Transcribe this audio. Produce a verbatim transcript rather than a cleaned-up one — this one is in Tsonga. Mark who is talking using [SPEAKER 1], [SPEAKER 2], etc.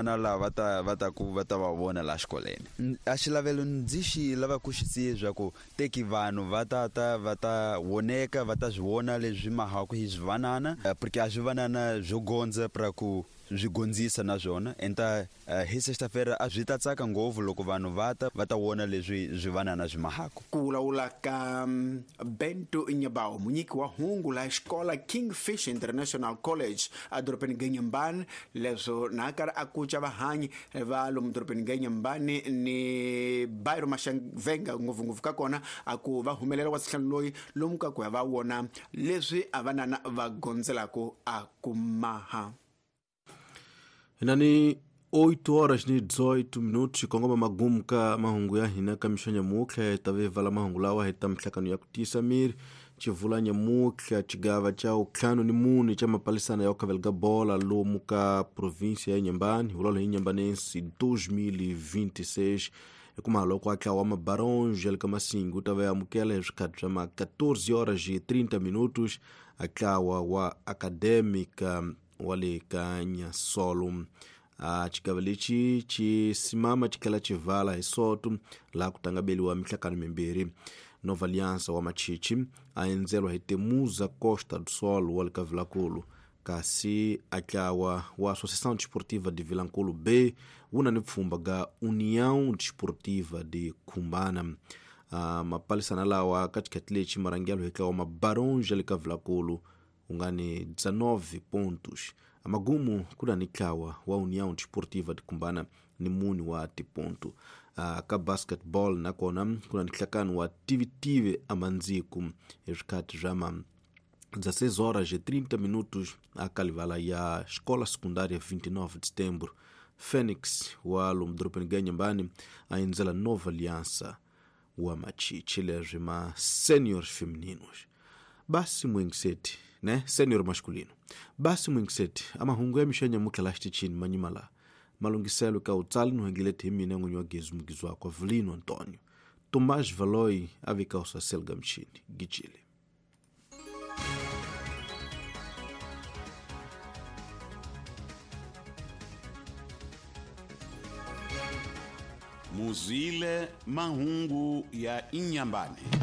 [SPEAKER 1] Na lava ta va ta ku va ta va vona la xikolweni. A xilavelo ndzi xi lava ku xi siya ku teki vanhu va ta ta va ta voneka va ta swi vona leswi mahaku hi swivanana, porque a swivanana swo gondza pra ku swi gondzisa na swona. Enta hi sexta-feira a swi ta tsaka ngopfu loko vanhu va ta va ta vona leswi swivanana swi mahaku.
[SPEAKER 2] Ku vulavula ka Bento Nyabao, munyiki wa hungu la xikola Kingfish International College edorobeni Inhambane, leswo na karhi a kuca vahanyi va lomu dorobeni Inhambane ni Bairro Maxavenga ngopfungopfu ka kona a ku va humelela wa sihlanu loyi lomu ka ku ya va vona leswi a vanana va gondzelaka a kumaha.
[SPEAKER 3] Hinani oito horas ni dezoito minutos kongoma magumu ka mahungu ya hina ka mixo nyamutlha tave vala mahungu lawa hi ta mihlakano ya ku tiyisa miri chivula nyamutlha chigava cha utlhanu ni mune cha mapalisana ya ukhavelga bola lomu ka província ya Inhambane vulolo hi Inhambanense dois mil e vinte e seis hikuma loko a tlawa Mabaronge le ka Masingu ta va amukela hi swikhati swa ma catorze horas e trinta minutos a tlawa wa Acadêmica wa le ka Nhassolo. A chigava lexi xi simama xi tlhela xi vala hi soto laha ku tangabeliwa mihlakano mimbirhi. Nova Aliança wa Machichi a endzeriwa hi Temuza Costa do Sol wa le ka Vilankulu, kasi a tlawa wa Associação Desportiva de Vilankulu B wu na ni pfhumba ga União Desportiva de Cumbana. Uh, mapalisana lawa ka xikhati lexi marhangelo hi tlawa Mabaronge le ka Vilankulu wu nga ni dezenove pontos. Amagumu ku na ni tlawa wa União Desportiva de Cumbana ni mune wa tiponto. Uh, ka basketball nakona ku na ni nhlakano wa Tivitive Amandziku hi swikhati swa ma dezesseis horas e trinta minutos a kalivala ya Escola Secundária vinte e nove de Setembro. Fênix wa lomu dorobeni ga Inhambane a endzela Nova Aliança wa Machichi leswi ma seniors femininos. Basi mwingiseti ne senior masculino. Basi mwingiseti amahungu ya mixo ya nyamutlha la xitichini manyima la malunghiselo ka utsali no hengilete hi mina n'winyi wa gezi mugizi wakwa Vilino Antonio. Tomás Valoi a vika usasel mchini gichile.
[SPEAKER 4] Muzile mahungu ya Inhambane.